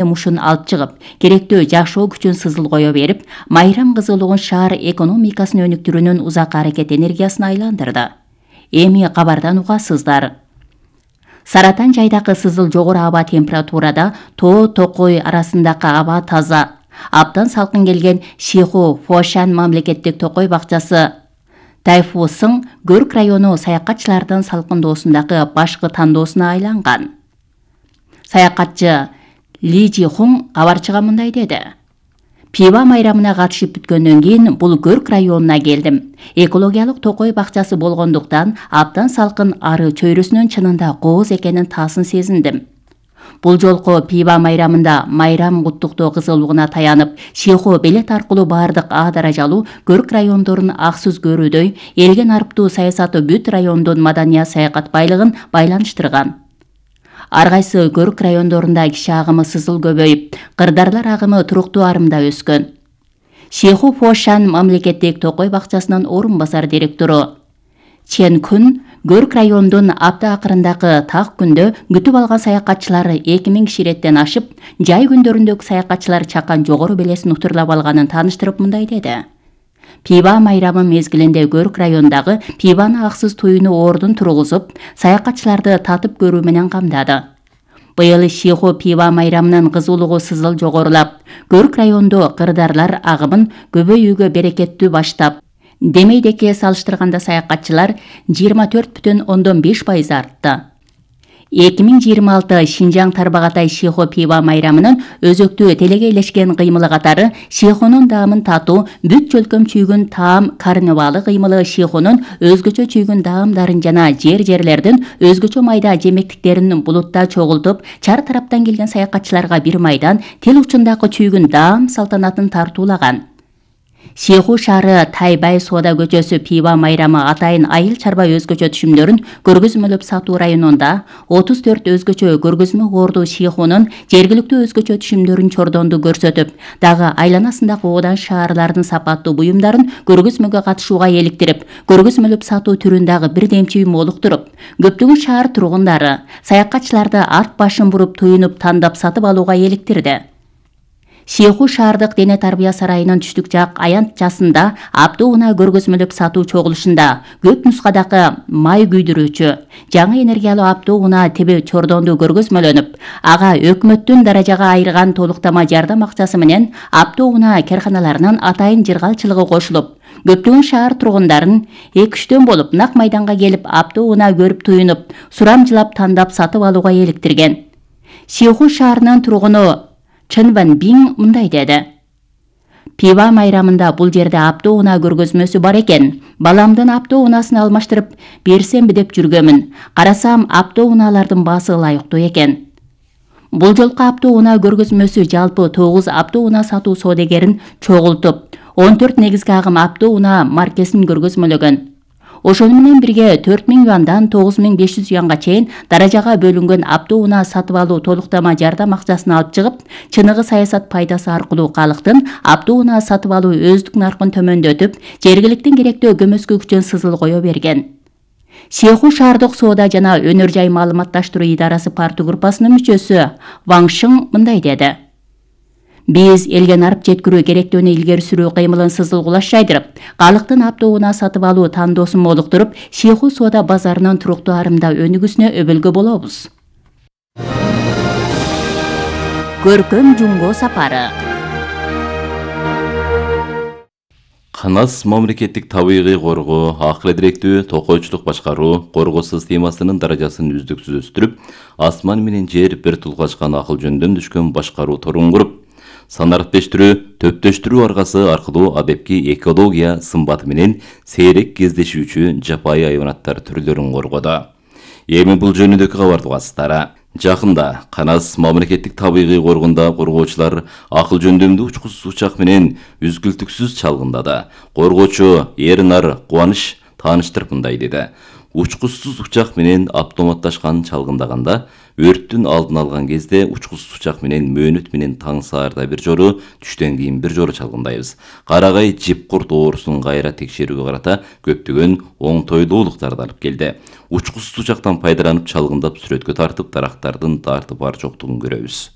мушун алып чыгып, керектүү жакшоо күчүн сызыл кое берип, майрам кызылыгын шаар экономикасын өнүктүрүүнүн узак аракет энергиясына айландырды. Эми кабардан угасыздар. Саратан жайдагы сызыл жогору аба температурада Тоо Токой арасындагы аба таза. Абдан салкын келген Шиху Фошан мамлекеттик токой бакчасы Тайфусың Көрк району саякатчылардын салкындоосундагы башкы тандоосуна айланган. Саякатчы Ли Жихун кабарчыга мындай деди. Пиба майрамына катышып бүткөндөн кийин бул Көрк районуна келдим. Экологиялык токой бакчасы болгондуктан абдан салкын ары чөйрөсүнүн чынында кооз экенин таасын сезиндим. Бул жолку Пиба майрамында майрам куттуктоо кызылыгына таянып, Шиху билет аркылуу бардык А даражалуу Көрк райондорун аксыз көрүүдөй элген арыптуу саясаты бүт райондун маданият саякат байлыгын байланыштырган. Ар кайсы Көрк райондорунда киши агымы сызыл көбөйүп, кырдарлар агымы туруктуу арымда өскөн. Шиху Фошан мамлекеттик токой бакчасынын орун басар директору Чен Күн Көрк райондун апта акырындагы так күндө күтүп алган саякатчылары 2000 киши реттен ашып, жай күндөрүндөгү саякатчылар чакан жогору белесин утурлап алганын тааныштырып мындай деди. Пиба майрамы мезгилинде Көрк райондагы пибаны аксыз туюну ордун тургузуп, саякатчыларды татып көрүү менен камдады. Быйыл Шиху Пиба майрамынын кызуулугу сызыл жогорулап, Көрк райондо кырдарлар агымын көбөйүүгө берекеттүү баштап, демейдекке салыштырганда саякатчылар 24,5% артты. 2026 Шинжаң Тарбагатай Шиху Пиба майрамынын өзөктүү телегейлешкен кыймылы катары Шихунун даамын татуу бүт чөлкөм чүйгүн таам карнавалы кыймылы Шихунун өзгөчө чүйгүн даамдарын жана жерлердин өзгөчө майда жемектиктерин булутта чогултуп, чар тараптан келген саякатчыларга бир майдан тил учундагы чүйгүн даам салтанатын тартуулаган. Шиху шаары Тайбай соода көчөсү Пиба майрамы атайын айыл чарба өзгөчө түшүмдөрүн көргөзмөлөп сатуу районунда 34 өзгөчө көргөзмө орду Шихунун жергиликтүү өзгөчө түшүмдөрүн чордонду көрсөтүп, дагы айланасындагы одан шаарлардын сапаттуу буюмдарын көргөзмөгө катышууга эликтирип, көргөзмөлөп сатуу түрүн дагы бирдемчи молуктуруп, көптөгөн шаар тургундары, саякатчыларды арт башын буруп туюнуп тандап сатып алууга эликтирди. Шиху шаардык дене тарбия сарайынын түштүк жак аянтчасында аптоуна көргөзмөлөп сатуу чогулушунда көп нускадагы май күйдүрүүчү жаңы энергиялуу аптоуна теби чордонду көргөзмөлөнүп, ага өкмөттүн даражага айырган толуктама жардам акчасы менен аптоуна карканаларынын атайын жыргалчылыгы кошулуп, көптөгөн шаар тургундарын 2-3 болуп нак майданга келип аптоуна көрүп туюнуп, сурамжылап тандап сатып алууга эликтирген. Шиху шаарынын тургуну Чен Ван Бин мындай деди. Пиба майрамында бул жерде аптоуна көргөзмөсү бар экен. Баламдын аптоунасын алмаштырып берсемби деп жүргөмүн. Карасам аптоуналардын баасы ылайыктуу экен. Бул жолку аптоуна көргөзмөсү жалпы 9 аптоуна сатуу соодагерин чогултуп, 14 негизги агым аптоуна маркесин көргөзмөлөгөн. Ошону менен бирге 4000 юандан 9500 юанга чейин даражага бөлүнгөн аптоуна сатып алуу толуктама жардам акчасын алып чыгып, чыныгы саясат пайдасы аркылуу калктын аптоуна сатып алуу өздүк наркын төмөндөтүп, жергиликтин керектүү көмөскө күчүн сызыл кое берген. Шиху шаардык соода жана өнөр жай маалыматташтыруу идарасы парту группасынын мүчөсү Ван Шың мындай деди. Биз элген арып жеткирүү керектүүнү илгери сүрүү кыймылын сызыл кулаш жайдырып, калктын аптоуна сатып алуу тандоосун молуктуруп, Шиху соода базарынын туруктуу арымда өнүгүүсүнө өбөлгө болобуз. Көркөм жумго сапары. Канас мамлекеттик табигый коргоо, акыл эдиректүү, токойчулук башкаруу, коргоо системасынын даражасын үздүксүз өстүрүп, асман менен жер бир тулгачкан акыл жөндөн түшкөн башкаруу торун куруп, санариптештирүү, төптөштүрүү аргасы аркылуу адепки экология сымбаты менен сейрек кездешүүчү жапайы айванаттар түрлөрүн коргоду. Эми бул жөнүндөгү кабарды угасыздар. Жакында Канас мамлекеттик табигый коргондо коргоочулар акыл жөндөмдүү учкучсуз учак менен үзгүлтүксүз чалгындады. Коргоочу Эрнар Кубаныч тааныштырып мындай деди. Учкучсуз учак менен автоматташкан чалгындаганда өрттүн алдын алган кезде учкучсуз учак менен мөөнөт менен таң саарда бир жору, түштөн кийин бир жору чалгындайбыз. Карагай жипкурт оорусун кайра текшерүүгө карата көптөгөн оңтойлуулуктарды алып келди. Учкучсуз учактан пайдаланып чалгындап сүрөткө тартып, дарактардын тарты бар жоктугун көрөбүз.